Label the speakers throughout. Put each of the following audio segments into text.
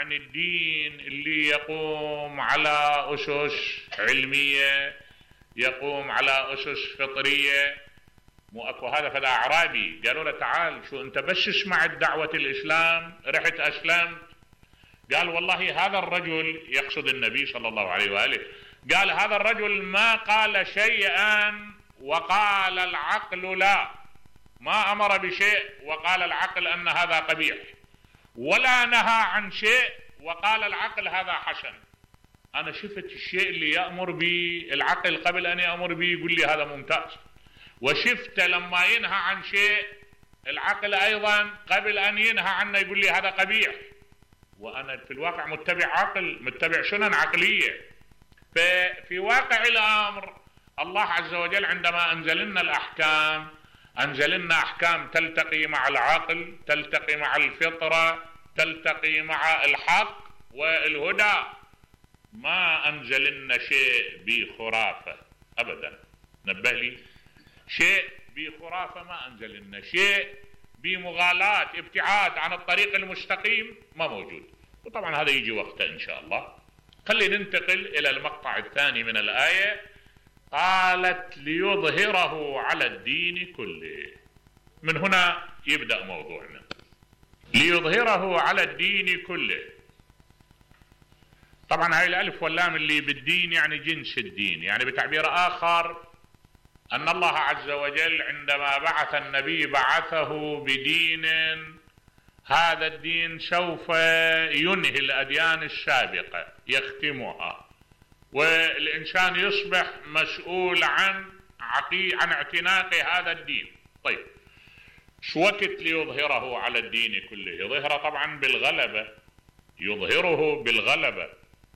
Speaker 1: عن الدين اللي يقوم على أسس علمية، يقوم على أسس فطرية. مو أكو هذا فدا أعرابي قالوا له تعال شو أنت بس سمعت دعوة الإسلام رحت أسلمت؟ قال والله هذا الرجل، يقصد النبي صلى الله عليه وآله، قال هذا الرجل ما قال شيئا وقال العقل لا، ما أمر بشيء وقال العقل أن هذا قبيح، ولا نهى عن شيء وقال العقل هذا حسن. أنا شفت الشيء اللي يأمر به العقل قبل أن يأمر به يقول لي هذا ممتاز، وشفت لما ينهى عن شيء العقل أيضا قبل أن ينهى عنه يقول لي هذا قبيح، وأنا في الواقع متبع عقل، متبع سنن عقلية. ففي واقع الأمر الله عز وجل عندما أنزل لنا الأحكام أنزل لنا أحكام تلتقي مع العقل، تلتقي مع الفطرة، تلتقي مع الحق والهدى. ما أنزل لنا شيء بخرافة أبدا، نبه لي، شيء بخرافة ما أنزل لنا، شيء بمغالاة ابتعاد عن الطريق المستقيم ما موجود. وطبعا هذا يجي وقته إن شاء الله. خلينا ننتقل إلى المقطع الثاني من الآية. قالت ليظهره على الدين كله. من هنا يبدأ موضوعنا، ليظهره على الدين كله. طبعا هاي الألف واللام اللي بالدين يعني جنس الدين، يعني بتعبير آخر أن الله عز وجل عندما بعث النبي بعثه بدين، هذا الدين سوف ينهي الأديان السابقة، يختمها، والإنسان يصبح مسؤول عن اعتناق هذا الدين. طيب شو وقت ليظهره على الدين كله؟ يظهره طبعا بالغلبة، يظهره بالغلبة،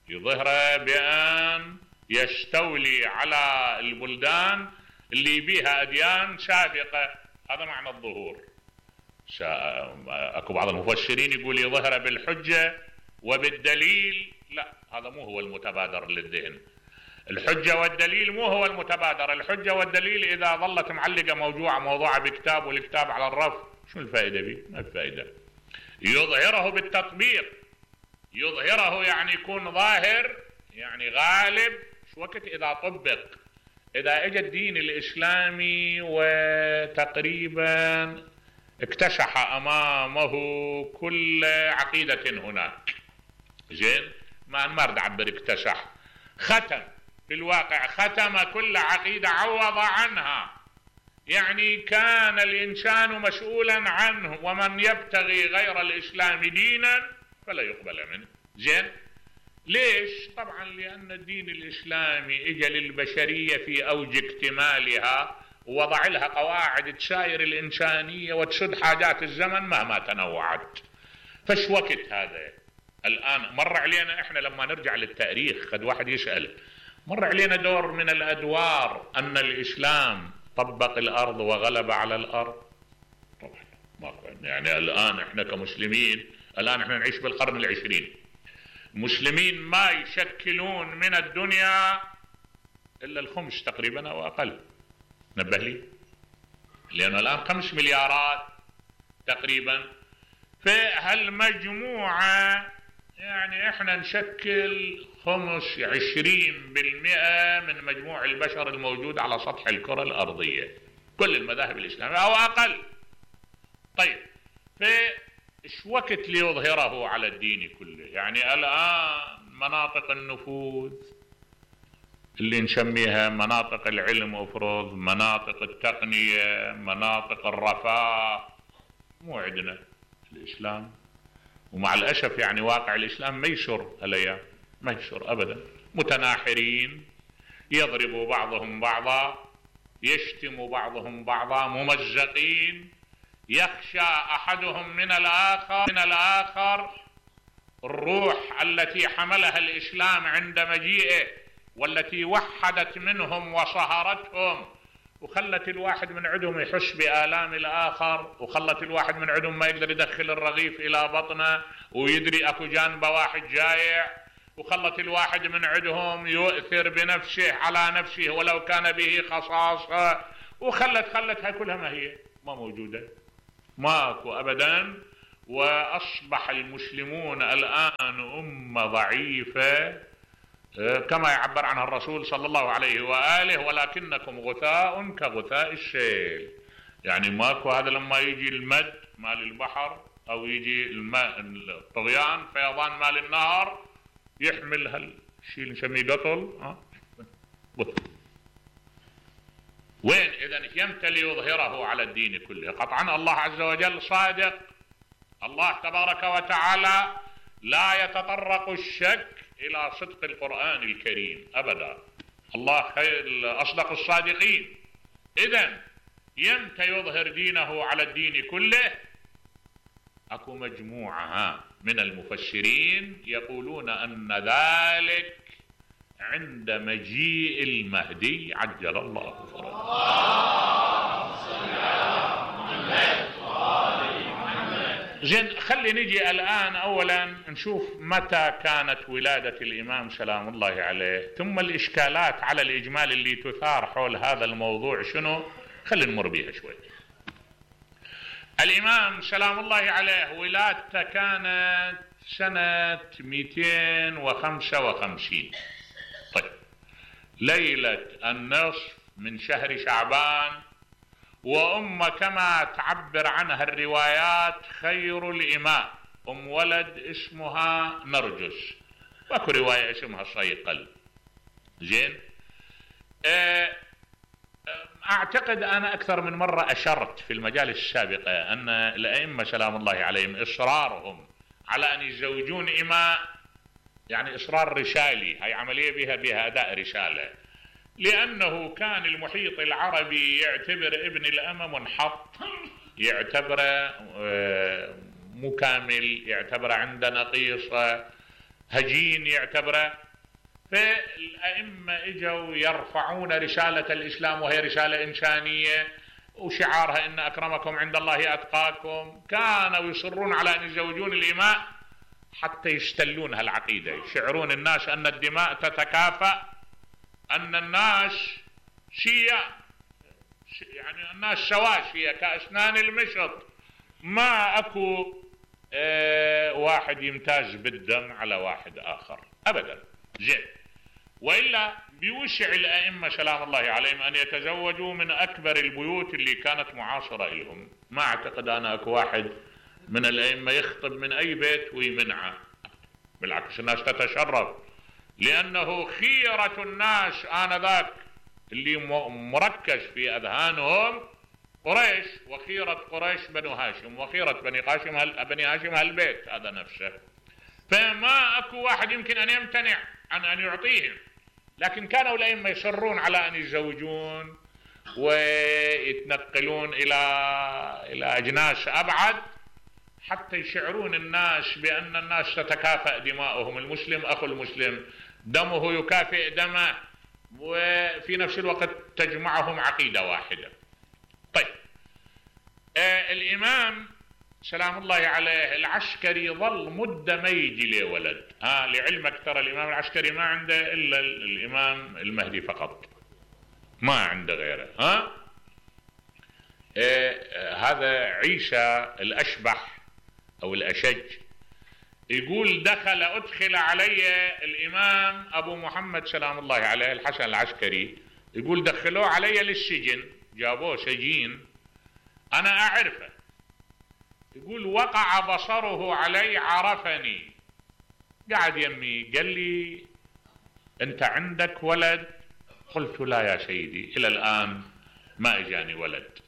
Speaker 1: يظهره بأن يستولي على البلدان اللي بيها أديان سابقة. هذا معنى الظهور. أكو بعض المفسرين يقول يظهره بالحجة وبالدليل. لا، هذا مو هو المتبادر للذهن. الحجة والدليل مو هو المتبادر. الحجة والدليل إذا ظلت معلقة موضوعة بكتاب والكتاب على الرف، شو الفائدة به؟ ما الفائدة. يظهره بالتطبيق، يظهره يعني يكون ظاهر، يعني غالب. شو وقت؟ إذا طبق، إذا اجى الدين الإسلامي وتقريبا اكتشح أمامه كل عقيدة هناك. زين، ما اريد اعبر اكتشح، ختم، في الواقع ختم كل عقيدة، عوض عنها. يعني كان الإنسان مسؤولا عنه، ومن يبتغي غير الإسلام دينا فلا يقبل منه. زين، ليش؟ طبعا لأن الدين الإسلامي اجى للبشرية في أوج اكتمالها، ووضع لها قواعد تساير الإنسانية وتسد حاجات الزمن مهما تنوعت. فش وقت هذا الآن مر علينا إحنا لما نرجع للتاريخ، قد واحد يسأل، مر علينا دور من الأدوار أن الإسلام طبق الأرض وغلب على الأرض؟ طبعا ما يعني الآن إحنا كمسلمين، الآن إحنا نعيش بالقرن العشرين، مسلمين ما يشكلون من الدنيا إلا الخمس تقريبا أو أقل. نبه لي، لأنه الآن 5 مليارات تقريبا. فهالمجموعة يعني احنا نشكل 20% من مجموع البشر الموجود على سطح الكرة الأرضية، كل المذاهب الإسلامية أو أقل. طيب فإيش وقت ليظهره على الدين كله؟ يعني الآن مناطق النفوذ اللي نسميها مناطق العلم افرض، مناطق التقنية، مناطق الرفاه، مو عندنا الإسلام. ومع الأسف يعني واقع الإسلام ما يسر هالأيام، ما يسر أبدا. متناحرين، يضرب بعضهم بعضا، يشتم بعضهم بعضا، ممزقين، يخشى أحدهم من الآخر. الروح التي حملها الإسلام عند مجيئه والتي وحدت منهم وصهرتهم وخلت الواحد من عندهم يحس بآلام الآخر، وخلت الواحد من عندهم ما يقدر يدخل الرغيف إلى بطنه ويدري أكو جانبه واحد جايع، وخلت الواحد من عندهم يؤثر بنفسه على نفسه ولو كان به خصاصة، وخلت هاي كلها ما هي ما موجودة، ماكو أبدا. وأصبح المسلمون الآن أمة ضعيفة كما يعبر عنها الرسول صلى الله عليه وآله: ولكنكم غثاء كغثاء السيل. يعني ماكو هذا لما يجي المد مال البحر أو يجي الماء الطغيان فيضان مال النهر يحمل هالشيء اللي نسميه قطل. وين إذن يمتى ليظهره على الدين كله؟ قطعا الله عز وجل صادق. الله تبارك وتعالى لا يتطرق الشك إلى صدق القرآن الكريم أبدا. الله أصدق الصادقين. إذن يمتى يظهر دينه على الدين كله؟ أكو مجموعة من المفسرين يقولون أن ذلك عند مجيء المهدي عجل الله فرجه. زين، خلي نجي الآن أولا نشوف متى كانت ولادة الإمام سلام الله عليه، ثم الإشكالات على الإجمال اللي تثار حول هذا الموضوع شنو. خلي نمر بيها شوي. الإمام سلام الله عليه ولادته كانت سنة 255. طيب، ليلة النصف من شهر شعبان، وأم كما تعبر عنها الروايات خير الإماء، أم ولد اسمها نرجس، واكو رواية اسمها صيقل. زين، أعتقد أنا أكثر من مرة أشرت في المجال السابقة أن الأئمة سلام الله عليهم إصرارهم على أن يزوجون إماء يعني إصرار رسالي، هاي عملية بها أداء رسالة، لأنه كان المحيط العربي يعتبر ابن الأمة منحط، يعتبره مكامل، يعتبره عنده نقيصة، هجين يعتبره. فالأئمة اجوا يرفعون رسالة الإسلام وهي رسالة إنسانية وشعارها إن أكرمكم عند الله أتقاكم. كانوا يصرون على أن يزوجون الإماء حتى يستلون هالعقيدة، يشعرون الناس أن الدماء تتكافأ، أن الناس يعني الناس سواسية كأسنان المشط، ما أكو واحد يمتاز بالدم على واحد آخر أبدا. زين، وإلا بيوسع الأئمة سلام الله عليهم أن يتزوجوا من أكبر البيوت اللي كانت معاصرة لهم. ما أعتقد أنا أكو واحد من الأئمة يخطب من أي بيت ويمنعه، بالعكس الناس تتشرف، لأنه خيرة الناس آنذاك اللي مركز في أذهانهم قريش، وخيرة قريش بنو هاشم، وخيرة بني هاشم هالبيت هذا نفسه. فما أكو واحد يمكن أن يمتنع عن أن يعطيهم، لكن كانوا الأئمة يصرون على أن يتزوجون ويتنقلون إلى أجناس أبعد حتى يشعرون الناس بأن الناس تتكافأ دماؤهم، المسلم أخو المسلم، دمه يكافئ دمه، وفي نفس الوقت تجمعهم عقيدة واحدة. طيب، الإمام سلام الله عليه العسكري ظل مدة ما يجي له ولد. لعلمك ترى الإمام العسكري ما عنده إلا الإمام المهدي فقط، ما عنده غيره. هذا عيسى الأشبح أو الأشج يقول أدخل علي الإمام أبو محمد سلام الله عليه الحسن العسكري، يقول دخلوه علي للسجن، جابوه سجين أنا أعرفه، يقول وقع بصره علي عرفني، قاعد يمي قال لي أنت عندك ولد؟ قلت لا يا سيدي، إلى الآن ما إجاني ولد.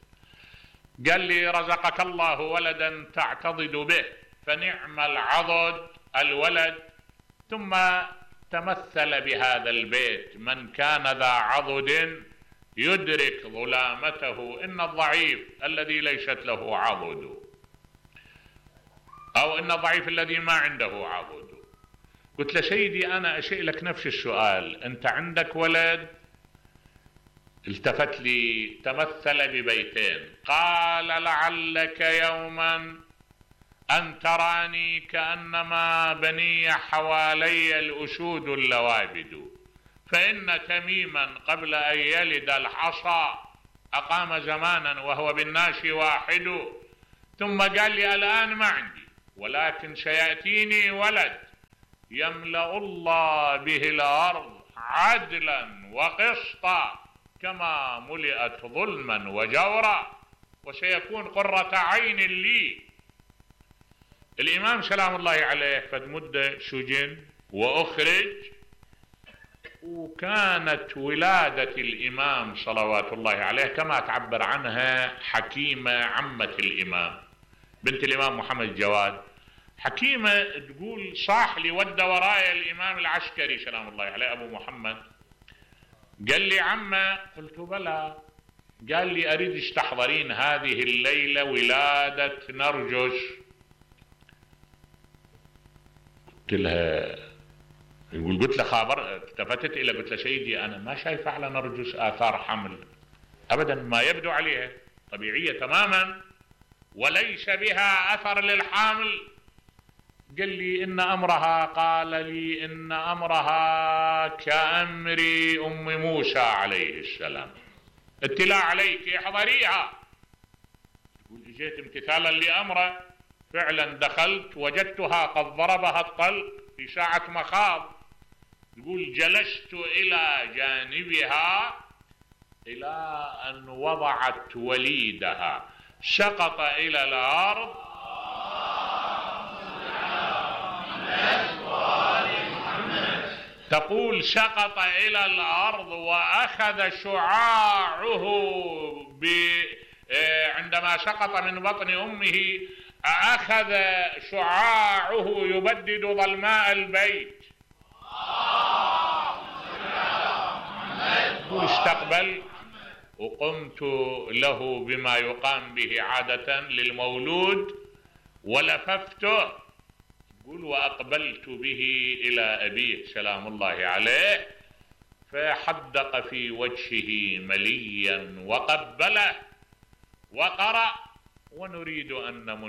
Speaker 1: قال لي رزقك الله ولدا تعتضد به، فنعم العضد الولد. ثم تمثل بهذا البيت: من كان ذا عضد يدرك ظلامته، إن الضعيف الذي ليست له عضد، أو إن الضعيف الذي ما عنده عضد. قلت له سيدي أنا أسألك نفس السؤال، أنت عندك ولد؟ التفت لي تمثل ببيتين، قال لعلك يوما أن تراني كأنما بني حوالي الأسود اللوابد، فإن تميما قبل أن يلد الحصى أقام زمانا وهو بالناس واحد. ثم قال لي الآن ما عندي، ولكن سيأتيني ولد يملأ الله به الأرض عدلا وقسطا كما ملئت ظلما وجورا، وسيكون قرة عين لي. الإمام سلام الله عليه فد مدة سجن وأخرج، وكانت ولادة الإمام صلوات الله عليه كما تعبر عنها حكيمة عمة الإمام بنت الإمام محمد الجواد. حكيمة تقول صاح لي ود ورايا الإمام العسكري سلام الله عليه أبو محمد، قال لي عمه، قلت بلى، قال لي أريدش تحضرين هذه الليلة ولادة نرجس. قلت لها، يقول قلت له خابر، التفتت إلى قلت له سيدي أنا ما شايف على نرجس آثار حمل أبدا، ما يبدو عليها طبيعية تماما وليس بها أثر للحامل. قال لي إن أمرها، قال لي إن أمرها كأمر أم موسى عليه السلام، اتلاء عليك احضريها. يقول اجيت امتثالا لأمره، فعلا دخلت وجدتها قد ضربها الطلق في ساعة مخاض. يقول جلست إلى جانبها إلى أن وضعت وليدها، سقط إلى الأرض تقول سقط إلى الأرض وأخذ شعاعه عندما سقط من بطن أمه أخذ شعاعه يبدد ظلماء البيت. استقبل وقمت له بما يقام به عادة للمولود ولففته، يقول وأقبلت به إلى أبيه سلام الله عليه، فحدق في وجهه مليا وقبله وقرأ ونريد أن